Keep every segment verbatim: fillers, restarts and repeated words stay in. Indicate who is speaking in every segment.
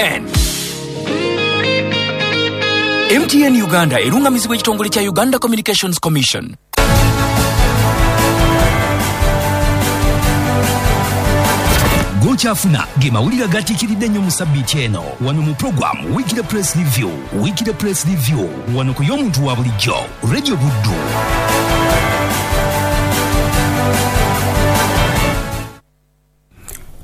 Speaker 1: N. M T N Uganda erungamizibwa ekitongole kya Uganda Communications Commission.
Speaker 2: Gochafuna ge mawulire gatiikiridde nnyo mu sabbiiti eno wano mu program Weekly Press Review. Weekly Press Review wano ku y'omuntu wa bulijjo Radio Buddu.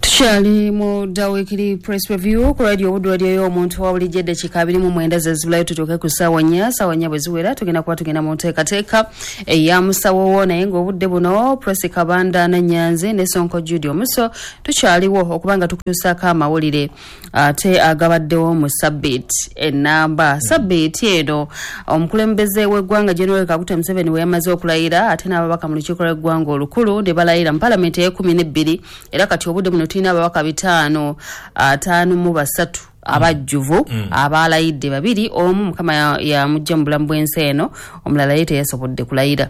Speaker 3: Tukyali mu da Weekly Press Review ku Radio Buddu, radio y'omuntu wa bulijjo. Eddakiika abiri mu mwenda ze zibulayo tutuuke ku ssaawa nnya. Ssaawa nnya bwe ziwera tugenda kuba tugenda mu nteekateeka eya musawo wo, naye ng'obudde buno Press Kabanda Nannyanzi ne Sonko Jude Omuso tukyaliwo okuba nga tukutuusaako amawulire ate agabaddewo mu sabbiiti ennamba. Sabbiiti eno omukulembeze w'eggwanga General Kaguta Museveni we yamaze okulayira, ate n'ababaka mu lukiiko lw'eggwanga olukulu ne balayira mu palamenti ey'ekkumi n'ebbiri, era kati obudde buno tulina ababaka bitaano ataano mu basatu abajjuvu
Speaker 4: mm.
Speaker 3: abalayidde babiri, omu Mukama yamujja mu bulamu bw'ensi eno, omulala ye teyasobodde kulayira.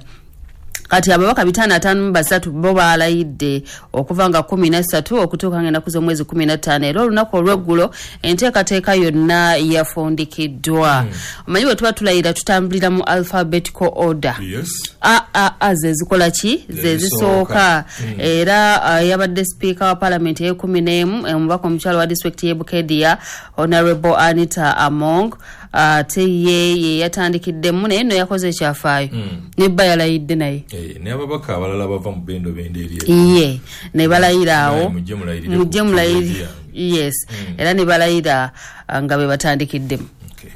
Speaker 3: Kati ababaka bitaano ataano mu basatu bo balayidde okuva nga kkumi na ssatu okutuuka ng'ennaku z'omwezi kkumi na ttaano, era olunaku olw'eggulo enteekateeka yonna yafundikiddwa.
Speaker 4: Mm.
Speaker 3: Omanyi bwe tuba tulayira tutambulira mu alphabetical order.
Speaker 4: Yes.
Speaker 3: A a a ze zikola ki? Ze zisooka.
Speaker 4: Mm.
Speaker 3: Era uh, yabadde sipiika wa palamenti ey'ekkumi n'emu, omubaka omukyala wa disitulikiti y'e Bukedia Honorable Anita Among, ate uh, ye ye yatandikiddemu, naye nno yakoze ekyafaayo.
Speaker 4: Mm.
Speaker 3: Ne bba yalayidde naye.
Speaker 4: Eh, n'ababaka abalala bava mu bendo bendo eri.
Speaker 3: Iye, ne balayira awo.
Speaker 4: Mujje mulayirire.
Speaker 3: Mujje mulayirire. Yes.
Speaker 4: Mm.
Speaker 3: Era ne balayira nga be batandikiddemu.
Speaker 4: Okay.